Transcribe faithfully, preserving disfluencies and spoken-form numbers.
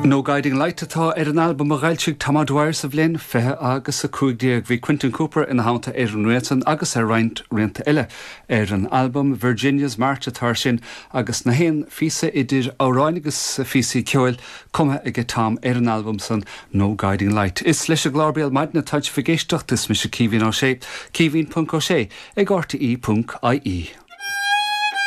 No Guiding Light atá ar an albam a d'fhoilsigh Tom O'Dwyer sa bhliain fiche agus a cúig déag bhí Quentin Cooper ina theannta ar an rian san agus ar roinnt rianta eile ar an albam Virginia's March atá sin agus na haon phíosa idir amhráin agus phíosaí ceoil cumtha ag Tom ar an albam san No Guiding Light. Is leis an gclár Béal Maidine atá sibh ag éisteacht is mise Caoimhín Ó Sé, Caoimhín.ó sé ag RTE.ie.